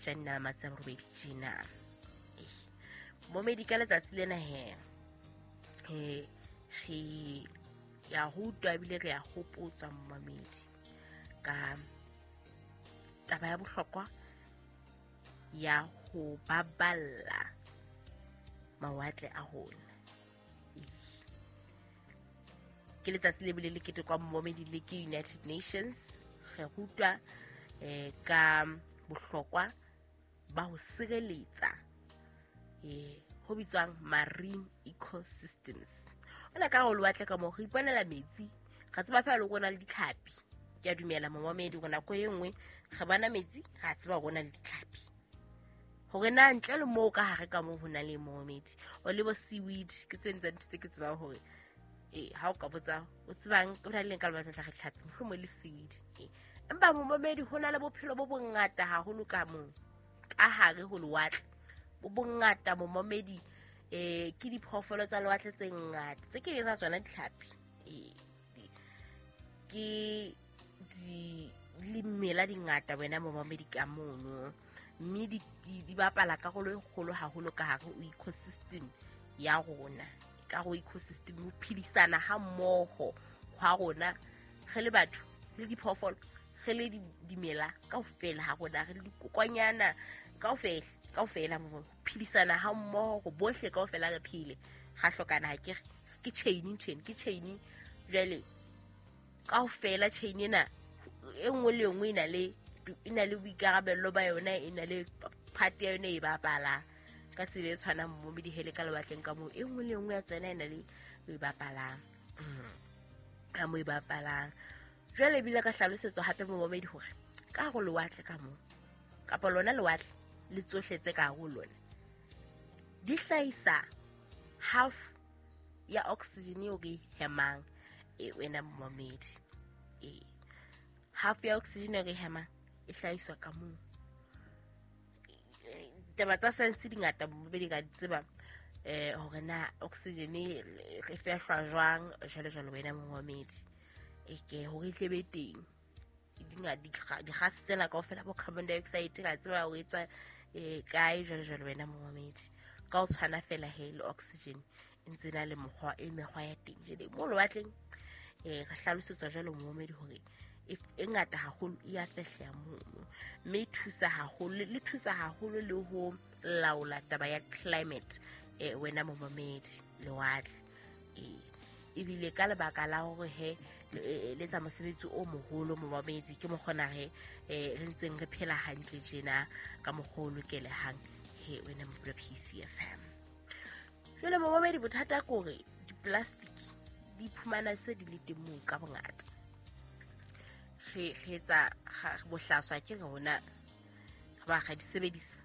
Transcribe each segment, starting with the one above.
Phupjane na la matsatsi a 8 tjena. Momedi ka letsatsi lena he re ya rutwa ebile re ya hopotswa momedi ka taba ya bohlokwa ya ho baballa mawatle a rona. Ke letsatsi le bile le ketekwa momedi le ke United Nations. Re rutwa ka bohlokwa ba ho sireletsa ho bitswang marine ecosystems. Ona ka ho lewatle ka moo re iponela metsi, re tseba fela le rona le ditlhapi. Ke a dumela momamedi hore nako e nngwe re bona metsi, ra tseba hore na le ditlhapi. Hore na ntle le moo ka hare ka moo ho na le momamedi o le bo seaweed, ke tse ntse ntho tse ke tsebang hore ha o ka botsa o tsebang o na le ka lebatla tla re tlhapi mohlomong le seaweed. Empa momamedi ho na le bophelo bo bongata haholo ka moo ka hare ho lewatle, bo bongata momamedi. Ke diphoofolo tsa lewatle tse ngata tse ke tsa tsona ditlhapi, ke di limela dingata wena momamedi ka mono, mme di bapala karolo e kgolo haholo ka hare ho ecosystem ya rona. Ka ho ecosystem ho phedisana ha mmoho hwa rona re le batho le diphoofolo, re le dimela kaofela ha rona, re le dikokwanyana kaofela kaofela, ho phedisana ha mmoho go bohle kaofela re phele. Ga hlokana ha ke ke chain ntho ena ke chain. Jwale kaofela chain ena e nngwe le nngwe e na le boikarabello ba yona, e na le part ya yona e bapalang ka tsela e tshwanang momedi hele ka lewatleng ka moo e nngwe le nngwe ya tsona e na le e bapalang ka moo e bapalang. Jwale ebile ka hlalosetswa hape momedi hore ka hare lewatle ka moo kapa lona lewatle le tsohle tse ka hare ho lona di hlahisa half ya oxygen eo re hemang wena momedi. Half ya oxygen eo re hemang e hlahiswa ka moo. Taba tsa science di ngata momedi ka di tseba hore na oxygen re fehlwa jwang jwalo jwalo wena momedi. Ke hore e tle be teng dikgase tsena kaofela bo carbon dioxide ra tseba hore e tswa kae jwalo jwalo wena momedi. Ka ho tshwana fela he le oxygen e ntse na le mokgwa e mekgwa ya teng. Jwale mo lewatleng re hlalosetswa jwalo momedi hore e ngata haholo e ya fehleha mono, mme e thusa haholo le thusa haholo le ho laola taba ya climate wena momamedi lewatle. Ebile ka lebaka la hore he le etsa mosebetsi o moholo momamedi, ke mokgona he re ntseng re phela hantle tjena ka mokgwa o lokelehang he wena mopula PCFM. Jwale momamedi bothata ke hore di-plastic di iphumana se di le teng moo ka bongata. Re etsa bohlaswa ke rona ba ga di sebedisa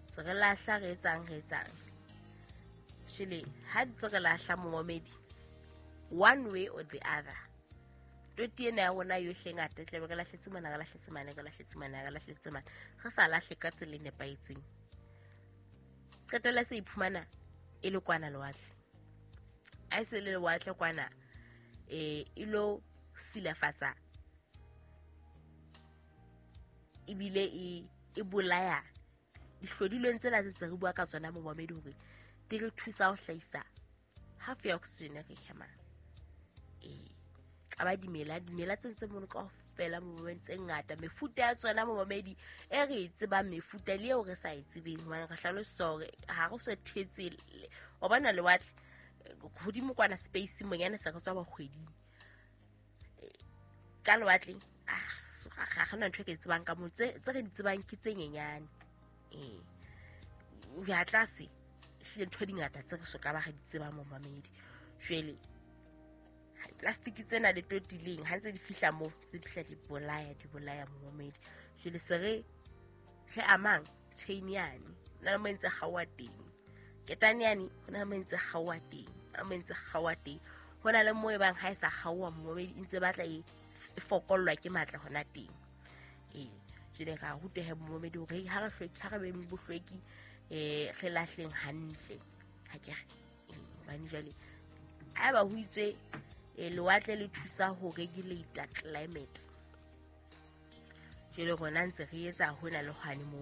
tse re lahla re etsang jwale ha di tse re lahla momamedi one way or the other toti ena ya rona yohle ngata tlabe re lahletse mona re lahletse mane re lahletse mane re lahletse mane re sa lahle ka tsela e nepahetseng. Qetella se iphumana e le kwana lewatle, a e se le lewatle kwana e lo silafatsa ebile e bolaya dihlodilweng tsena tse re bua ka tsona momamedi hore di re thusa ho hlahisa half ya oxygen re hemang. Ka ba dimela tse ntse mono kaofela momamedi tse ngata mefuta ya tsona momamedi e re e tsebang mefuta le eo re sa e tsebeng hobane re hlalosetswa hore ha re so thetse wa bona lewatle hodimo kwana space monyane se re tswa bakgweding ka lewatleng ga gona ntho e ke e tsebang ka moo tse re di tsebang ke tse nyenyane. Ya tlase ehlile ntho di ngata tse re soka ba re di tsebang momamedi. Jwale plastic tsena le totileng ha ntse di fihla moo tse di fihla di bolaya momamedi. Jwale se re amang chain yane na le mo ntse kgaoha teng, ketane yane ho na le mo ntse kgaoha teng, na mo ntse kgaoha teng, ho na le mo e bang ha e sa kgaoha momamedi e ntse batla e fokollwa ke matla hona teng. Jwale ra rutehe momamedi hore ha re hlweki ha re beng bohlweki re lahleng hantle ha ke re hobane jwale haeba ho itswe lewatle le thusa ho regulate climate jwale rona ntse re etsa hona le hwane mo.